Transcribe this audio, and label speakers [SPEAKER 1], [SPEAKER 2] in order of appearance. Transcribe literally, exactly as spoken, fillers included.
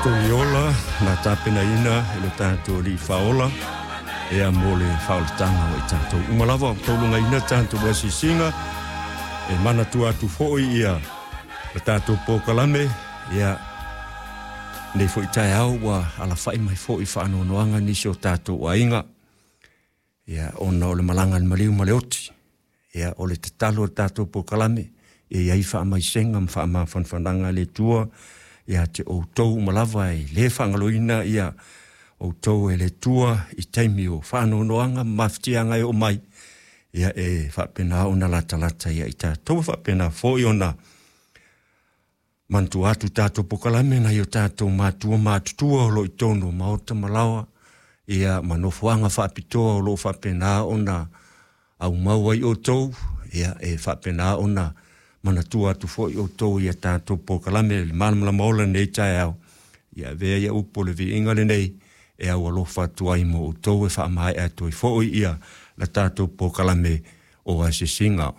[SPEAKER 1] Togiola na tapenaina e lo tatou Alii Faaola ia mo le faaolataga o i tatou uma lava o taulugaina tatou asiasiga e manatua atu foi ia le tatou polokalame ia nei foi taeao ua alafai mai foi faanoanoaga nisi o tatou aiga ia ona o le malaga a le maliu ma le oti. Ia o le tatalo o le tatou polokalame e i ai faamaisega ma faamafanafanaga a le Atua ia te outou uma lava e le faagaloina ia outou e le Atua i taimi o faanoanoaga ma mafatiaga e oo mai ia e faapena ona latalata ia i tatou, faapena foi ona manatua atu tatou polokalame nai o tatou matua matutua o lo o i totonu o maota ma laoa ia ma nofoaga faapitoa o lo o faapena ona aumau ai outou ia e faapena ona manatua atu foi outou ia tatou polokalame le Malamalama Ola nei taeao. Ia avea ia upu o le viiga lenei e aualofa atu ai mo outou e faamaea atu ai foi ia la tatou polokalame o asiasiga.